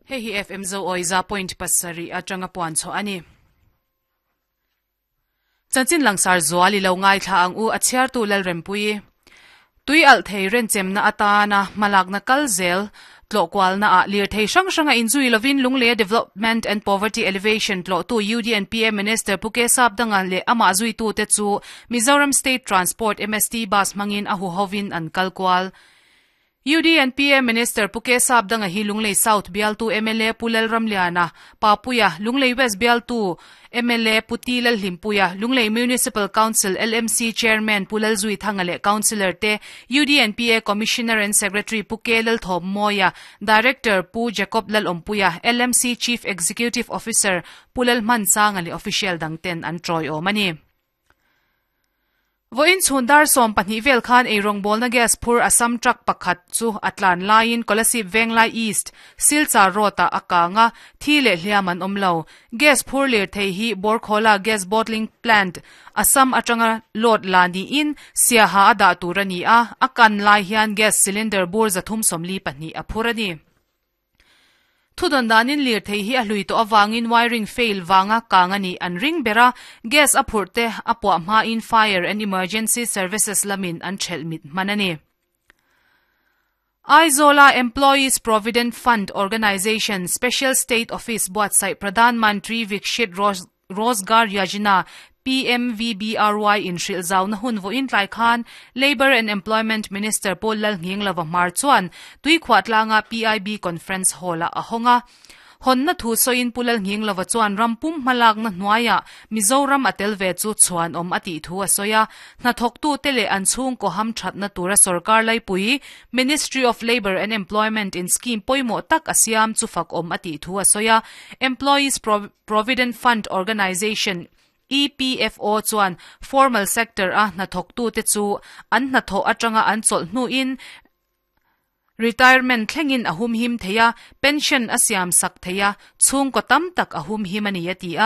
Hei hi FM Zoawi 100.7 atanga puan chhuah a ni. Chanchin langsar zual i lo ngaithla ang u, a chhiartu Lalrempuii. Tui alh thei renchemna atana hmalakna kal zel tlawhkualna ah lirthei hrang hranga inzui lovin Lungleia Development and Poverty Elevation tlawhtu UDNPA Minister Pu Kesap Danga leh amah zuitute chu Mizoram State Transport, MST, bus hmangin a huhovin an kal kual. UDNPA Minister Pu Kesap Danga hi Lunglei South bialtu mla Pu Lalramliana, Papuia, Lunglei West bialtu mla Pu T Lalhlimpuia, Lunglei Municipal Council, LMC, Chairman Pu Lalzuithanga leh Councillor te, UDNPA Commissioner and Secretary Pu K Lalthawmmawia, Director Pu Jacob Lalawmpuia, LMC Chief Executive Officer Pu Lalhmansanga leh official dangten an tawiawm a ni. Vawiin chhun dar 12 vel khan eirawngbawlna gas phur Assam truck pakhat chu a tlan laiin Kolasib Venglai East, Silchar Road-ah a kang a, thi leh hliam an awm lo. Gas phur lirthei hi Borkhola Gas Bottling Plant, Assam atanga load la niin Siaha a dah tur a ni a, a kan lai hian gas cylinder bur 342 a phur a ni. Thudawn danin lirthei hi a hlui tawh avangin wiring fail vanga kang a nih an ring ber a, gas a phurh te a puah hmain Fire and Emergency Services lamin an thelh mit hman a ni. Aizawla Employees Provident Fund Organisation Special State Office buatsaih Pradhan Mantri Vikshit Rozgar Yojana, PMVBRY, inhrilh zauna hun vawiin tlai khan Labour and Employment Minister Paul Lalnghinglova hmar chuan Tuikhuah tlanga PIB Conference Hall-ah a hawng a. Hawnna thu sawiin Pu Lalnghinglova chuan ram pum hmalakna hnuaiah Mizoram a tel ve chu chhuanawm a tih thu a sawi a. Hnathawktute leh an chhungkaw hamthatna tura sorkar laipui Ministry of Labour and Employment in scheme pawimawh tak a siam chu fakawm a tih thu a sawi a. Employees Provident Fund Organisation, EPFO, chuan formal sector a hnathawktute chu an hnathawh atanga an chawlh hnuin retirement thlengin a humhim thei a, pension a siam sak thei a, chhungkaw tam tak a humhim a ni a ti a.